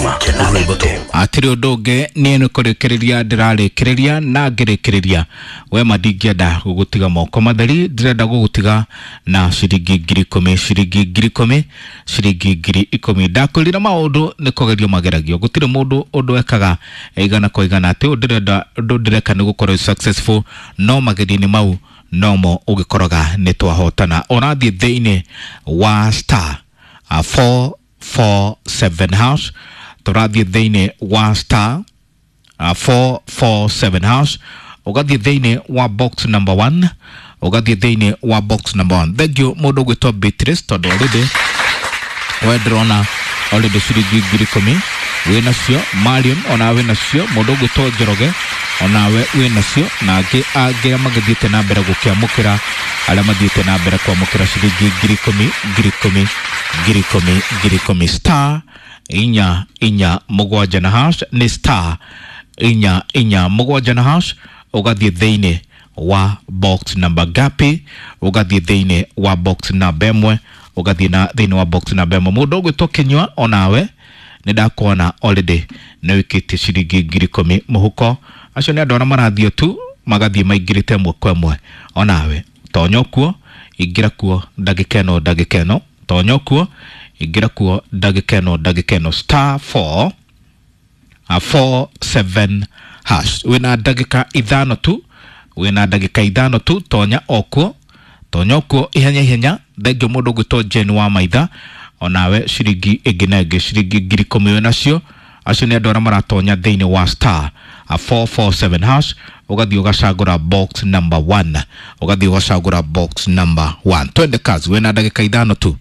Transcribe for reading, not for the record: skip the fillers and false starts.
Sukuma rwĩmbo tu. Atirĩ ũndũ ũngĩ, niĩ nĩ kũrĩkĩrĩria ndĩrarĩkĩrĩria na ngĩrĩkĩrĩria wema, ndingĩenda gũgũtiga moko matheri, ndĩrenda gũgũtiga na ciringi 10,000, ciringi 10,000, ciringi 10,000. Ndakwĩrire maũndũ nĩ kũgerio mageragio, gũtirĩ mũndũ ũndũ ekaga igana kwa igana atĩ ũndũ ndĩrenda, ũndũ ndĩreka nĩ gũkorwo successful, no magerio-inĩ mau nomo ũgĩkoraga nĩ twahotana. Ũrathiĩ thĩinĩ wa star 447 hash, tũrathiĩ thĩinĩ wa star 447 hash, ũgathiĩ thĩinĩ wa box number 1, ũgathiĩ thĩinĩ wa box number 1. Thank you mũndũ ũgwĩtwo Beatrice, tondũ already we ndĩrona already ciringi 10,000 wĩ nacio. Marion, onawe wĩ nacio. Mũndũ ũgwĩtwo Njoroge, onawe wĩ nacio, na angĩ angĩ magĩthiĩte na mbere gũkĩamũkĩra, arĩa mathiĩte na mbere kwamũkĩra ciringi 10,000, 10,000, 10,000, 10,000. Star 447 na hash, nĩ star 447 na hash, ũgathiĩ thĩinĩ wa box number gapi, ũgathiĩ thĩinĩ wa box number 1, ũgathiĩ na thĩinĩ wa box number 1. Mũndũ ũgwĩtwo Kĩnyua, onawe nĩ ndakuona already nĩ wĩkĩtie ciringi 10,000 mũhuko. Acio nĩ andũ arĩa marathiĩ tu magathiĩ maingĩrĩte ĩmwe kwa ĩmwe. Onawe tonya kuo, ingĩra kuo ndagĩka ĩno, ndagĩka ĩno tonya kuo, ingĩra kuo ndagĩka ĩno, ndagĩka ĩno, star 4 4 7 hash. Wĩna ndagĩka 5 tu, wĩna ndagĩka 5 tu, tonya okuo, tonya okuo ihenya ihenya. Thengio mũndũ ũgwĩtwo Jane wa Maitha, onawe ciringi ĩngĩ na ĩngĩ, ciringi 10,000 wĩ nacio. Acio nĩ andũ arĩa maratonya thĩinĩ wa star 447 hash, ũgathiĩ ũgacagũra box number 1, ũgathiĩ ũgacagũra box number 1. Twende kazi, wĩna ndagĩka 5 tu.